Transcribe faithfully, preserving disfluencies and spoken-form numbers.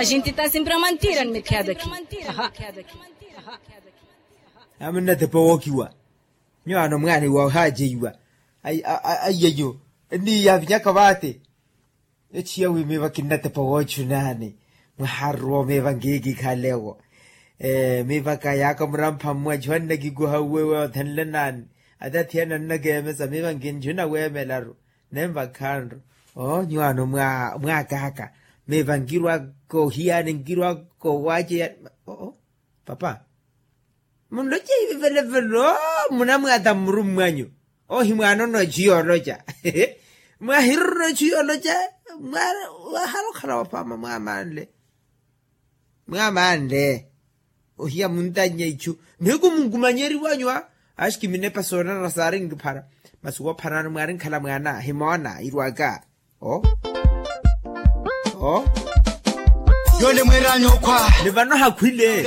Xintita simpira mantiira ni mithiya daki. Amunnatepa wookiwa. Nyuwaano mwaani woohaajeiwa. Aiyeyo. Enniyaavinyaka vaate. Echiya wi miiva kinnatepa woochunaani. Mwaharuwa omiiva ngiikikhalewo. Miivaka yaaka murampha mmwachiwa nnakikuha uwe woothenle naani. Atathiyana nnakeemesa miiva nkinchuna weemelaru. Nenvakhanru. Oo nyuwaano mwaakaaka. Miiva nkirwaka ohiyaani nkirwaka owaaceya. Oo papa. Munloce ivi velevelo. Munamwaata mmurummwanyu. Ohi mwaanono echu yooloca. Mwahiruro echu yooloca. Mwahala okhala wapaama mwaamanle. Mwaamanle. Ohiya muntannya ichu. Nihiku munkumanyeriwanyu a. Axikiminepa soonana saari nkiphara. Masi woopharana mwaari nkhala mwaana himoona irwaka. Oo. Oo. Yoole mweeraanyu okhwa. Ni vano hakhwile.